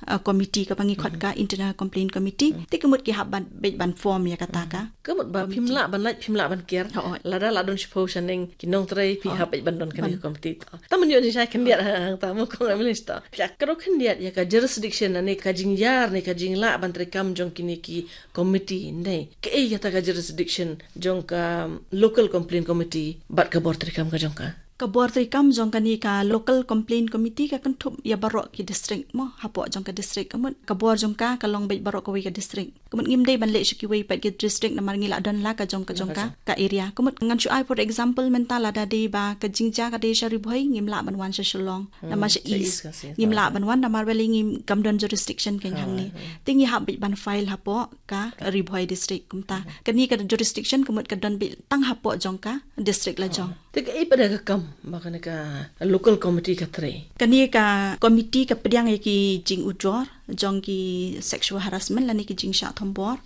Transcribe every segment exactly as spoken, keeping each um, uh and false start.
uh, committee kaba ngi khot ka internal complaint committee. Te ka mut ki hap ban beit ban form ïa kata ka. Ka mut ba phim lah ban lait, phim lah ban ker. Hooid. Lada la don shiphew shaneng ki nongtrei, phi hap beit ban don kane ka committee. Tang ban ïoh jingshai khyndiat hangta mo kong Emilis to. Phi ïa kdew khyndiat ïa ka jurisdiction ne ka jingïar ne ka jinglah ban treikam jong kine ki committee ne. Kaei kata ka jurisdiction jong ka local complaint committee bad ka bor treikam ka jong ka? Ka bor treikam jong kane ka local complaint committee ka kynthup ïa baroh ki district mo, hapoh jong ka district. Ka mut ka bor jong ka ka long beit baroh kawei ka district. Ka mut ngim dei ban leit sha kiwei pat ki district namar ngi la don la ka jong ka jong ka, ka area. Ka mut ngan shu ai for example mynta lada dei ba ka jingjia ka dei sha Ri Bhoi ngim lah ban wan sha Shillong. Namar sha East ngim lah ban wan namar balei ngim kam don jurisdiction kane hangne. Te ngi hap beit ban file hapoh ka Ri Bhoi district kumta. Kane ka jurisdiction ka mut ka don beit tang hapoh jong ka district la jong. Te kaei pat ka kam ba kane ka local committee ka trei? Kane ka committee ka pdiang ïa ki jingujor jong ki sexual harassment lane ki jingshah thombor.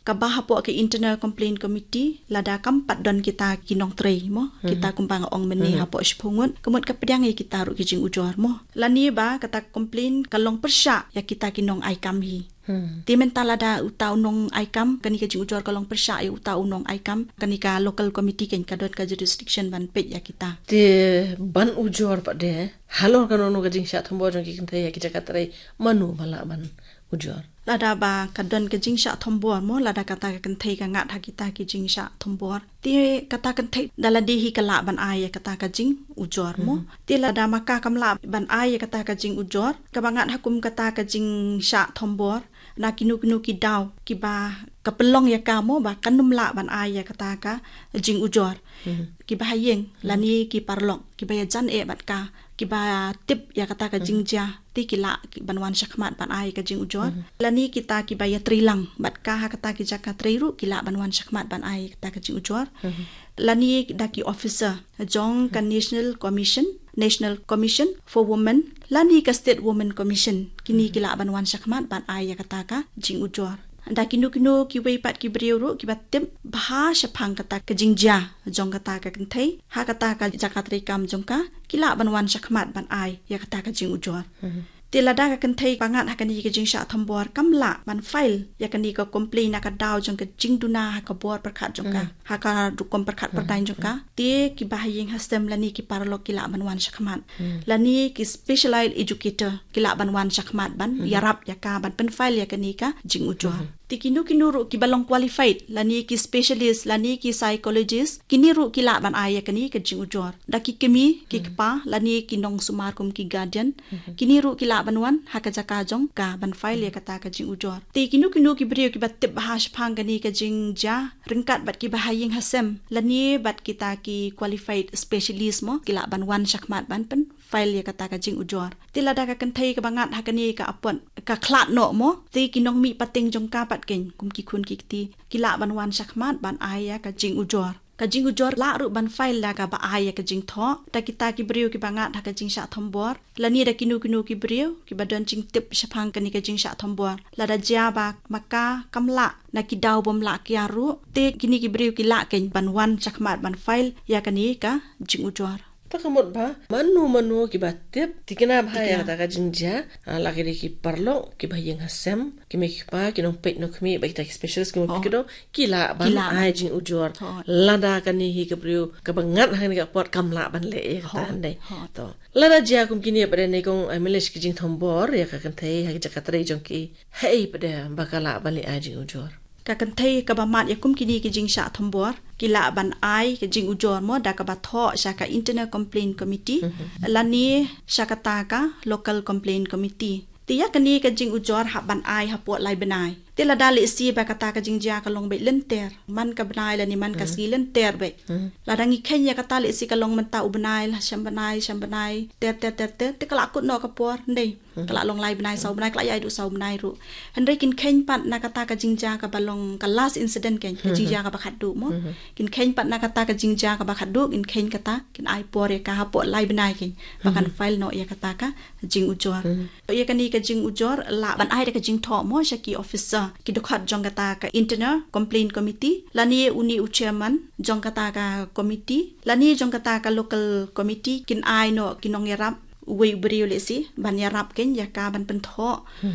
Kaba hapoh ka internal complaint committee lada kam pat don kita ki nongtrei mo, kita kumba nga ong mynne hapoh shiphew ngut. Ka mut ka pdiang ïa kita ruh ki jingujor mo. Lane ba kata complaint ka long pyrshah ïa kita ki nong ai kam hi. Te mynta lada uta u nong ai kam, kane ka jingujor ka long pyrshah ïa uta u nong ai kam, kane ka local committee kan ka don ka jurisdiction ban peit ïa kita. Te ban ujor pat de halor kano kano ka jingshah thombor jong ki kynthei ha ki jaka trei, mano ba lah ban ujor? Lada ba ka don ka jingshah thombor mo, lada kata ka kynthei ka ngat ha kita ki jingshah thombor, te kata ka kynthei da lade hi ka lah ban ai ïa kata ka jingujor mo. Te lada ma ka kam lah ban ai ïa kata ka jingujor kaba ngat ha kum kata ka jingshah thombor, na kino kino ki daw kiba ka pynlong ïa ka mo ba kan ym lah ban ai ïa kata ka jingujor. Kiba ha ïing lane ki paralok kiba ïajan eh bad ka, kiba tip ïa kata ka jingjia, te ki lah ban wan shakhmat ban ai ka jingujor. Lane kita kiba ïatrei lang bad ka ha kata ki jaka trei ruh ki lah ban wan shakhmat ban ai kata ka jingujor. Lane da ki officer jong ka National Commission, National Commission for Women, lane ka State Women Commission, kine ki lah ban wan shakhmat ban ai ïa kata ka jingujor. Da kino kino kiwei pat ki briew ruh kiba tip bha shaphang kata ka jingjia jong kata ka kynthei ha kata ka jaka treikam jong ka, ki lah ban wan shakhmat ban ai ïa kata ka jingujor. Te lada ka kynthei ba ngat ha kane ka jingshah thombor kam lah ban file ïa kane ka complaint na ka daw jong ka jingduna ha ka bor pyrkhat jong ka, ha ka rukom pyrkhat pyrdaiñ jong ka, te kiba ha ïing ha sem lane ki paralok ki lah ban wan shakhmat. Lane ki specialized educator ki lah ban wan shakhmat ban ïarap ïa ka ban pynfile ïa kane ka jingujor. Te kino kino ruh kiba long qualified lane ki specialist lane ki psychologist, kine ruh ki lah ban ai ïa kane ka jingujor. Da ki kmie ki kpa lane ki nongsumar kum ki guardian, kine ruh ki lah ban wan ha ka jaka jong ka ban file ïa kata ka jingujor. Te kino kino ki briew kiba tip bha shaphang kane ka jingjia ryngkat bad kiba ha ïing ha sem lane bad kita ki qualified specialist mo, ki lah ban wan shakhmat ban pyn file ïa kata ka jingujor. Te lada ka kynthei kaba ngat ha kane ka apot ka khlad noh mo, te ki nongmih pateng jong ka pat kein kum ki khun ki kti ki lah ban wan shakhmat ban ai ïa ka jingujor. Ka jingujor lah ruh ban file da kaba ai ïa ka jingthoh da kita ki briew kiba ngat ha ka jingshah thombor lane da kino kino ki briew kiba don jingtip shaphang kane ka jingshah thombor. Lada jia ba ma ka kam lah na ki daw bym lah kiar ruh, te kine ki briew ki lah kein ban wan shakhmat ban file ïa kane ka jingujor. Ta ka mut ba mano mano kiba tip, tikna bha ïa kata ka jingjia, la ki dei ki paralok kiba ha ïing ha sem, ki mei ki pa, ki nongpeit nongkhmih bad kita ki specialist ki mut ki dong, ki lah ban ai jingujor. Lada kane hi ka briew kaba ngat ha kane ka apot kam lah ban leh ïa kata hynrei. To lada jia kum kine pat de ne kong, ai, malish ki jingthombor ïa ka kynthei ha ki jaka trei jong ki, haei pat de ba ka lah ban leh ai jingujor? Ka kynthei kaba mad ïa kum kine ki jingshah thombor ki lah ban ai ka jingujor mo da kaba thoh sha ka Internal Complaint Committee lane sha kata ka Local Complaint Committee. Te ïa kane ka jingujor hap ban ai hapoh lai bnai. Te lada lehse ba kata ka jingjia ka long beit lynter, man ka bnai lane man ka sngi lynter beit. Lada ngi kheiñ ïa kata lehse ka long mynta u bnai, la shem bnai, shem bnai ter ter ter ter, te ka lah kut noh ka por, hynrei ka lah long lai bnai, saw bnai, ka lah ïai duh saw bnai ruh. Hynrei kin kheiñ pat na kata ka jingjia kaba long ka last incident, kein ka jingjia kaba khatduh mo. Kin kheiñ pat na kata ka jingjia kaba khatduh, kin kheiñ kata, kin ai por ïa ka hapoh lai bnai kein ba kan file noh ïa kata ka jingujor. Ïa kane ka jingujor lah ban ai da ka jingthoh mo sha ki officer, ki dkhot jong kata ka Internal Complaint Committee lane une u chairman jong kata ka committee lane jong kata ka local committee, kin ai noh ki nongïarap, uwei u briew lehse ban ïarap kein ïa ka ban pynthoh